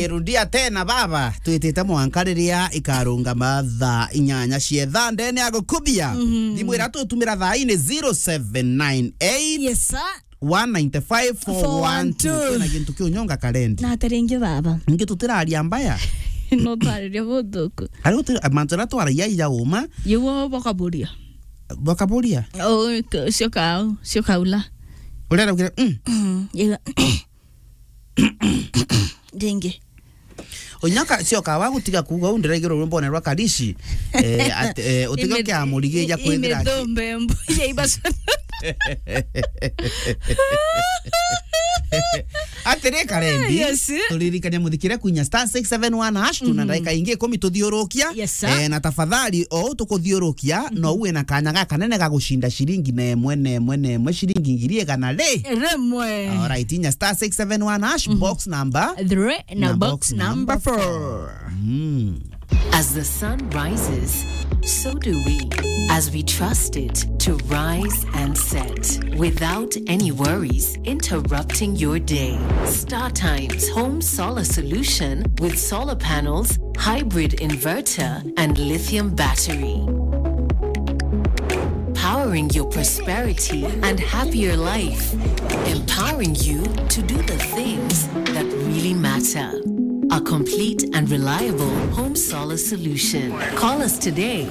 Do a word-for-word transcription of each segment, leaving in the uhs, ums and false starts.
Rudia tena baba, twitite mwanka riria ikarungama thaa inyanya cia thaa ndene ya gukubia. Mhm. Thimu iria tutumira thaa ii ni zero seven nine eight, Yes, sir. one nine five, four one two. Four one two. Kwina gintu kiu nyonga karendi. Na ati ringi baba. Ningi tutiraria mbaya. No twariria buthuku. Ari uti-, mantu aria twaragia ija uma. Yiguo bakaburia. Bakaburia? Oh, cio kau, cio kaula. Urenda kugira, mm. Mm, yega. Ringi. Unyaka cio kawa gutiga kuuga u ndiraigirwo rwimbo rwa Karishi. Eh, at-, eh, utiga Ime-, kia murigi ja i-, kwithira ki- imethombe mbu-, ya ibaco. Atiri karendi, Yes. turirikania muthikire kuinya star six seven one hash, tuna Mhm. ndagika ingi ikumi tuthiurukia. Yes, sir. Eh, na tafadhali, o tukuthiurukia, Mhm. no uwe na kanya ga kanene ga gucinda ciringi na imwe, na imwe, na imwe, ciringi ngiri igana ri. Rimwe. Alright, inya star six seven one hash, Mhm. box number Three na na box box number number four. four. Mm. As the sun rises, so do we, as we trust it to rise and set without any worries interrupting your day. Star Times Home Solar Solution with solar panels, hybrid inverter, and lithium battery. Powering your prosperity and happier life. Empowering you to do the things that really matter. A complete and reliable home solar solution. Call us today.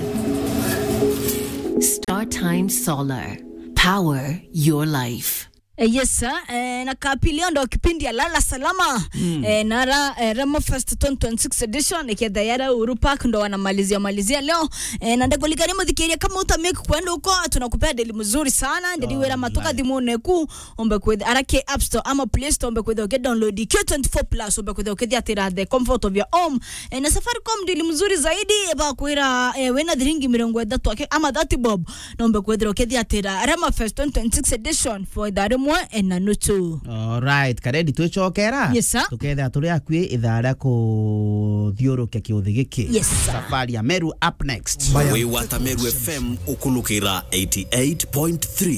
StarTime Solar. Power your life. Eh, yes, sir. Eh, na kapili ndo kipindi ya Lala Salama. Mm. Eh, nara, eh, Remo Fest twenty twenty-six edition, iketha yara Uhuru Park ndo wanamalizia malizia leo. Eh, na ndakulikania muthikiria kama uta make kwenda huko, tunakupea deal mzuri sana. Ndiri wira matuka Alright. Thimune ku, ombe kwitha, ara ki App Store ama Play Store, ombe kwitha uki download Q twenty-four plus, ombe kwitha ukithiatira the comfort of your home. Eh, na Safaricom deal mzuri zaidi, ba kwira, eh, wina thiringi mirongo ithatu aki-, ama thirty bob, nombe kwithira ukithiatira Rema Fest twenty twenty-six edition for ithaa rimwe, eh, na nuchu. Alright, Karedi, twicokera. Yes, sir. Tukethira turi akui ithaa ria kuthiurukia kiuthi giki. Yes, sir. Safari ya Meru up next. Wi wata Meru F M ukulukira eighty-eight point three.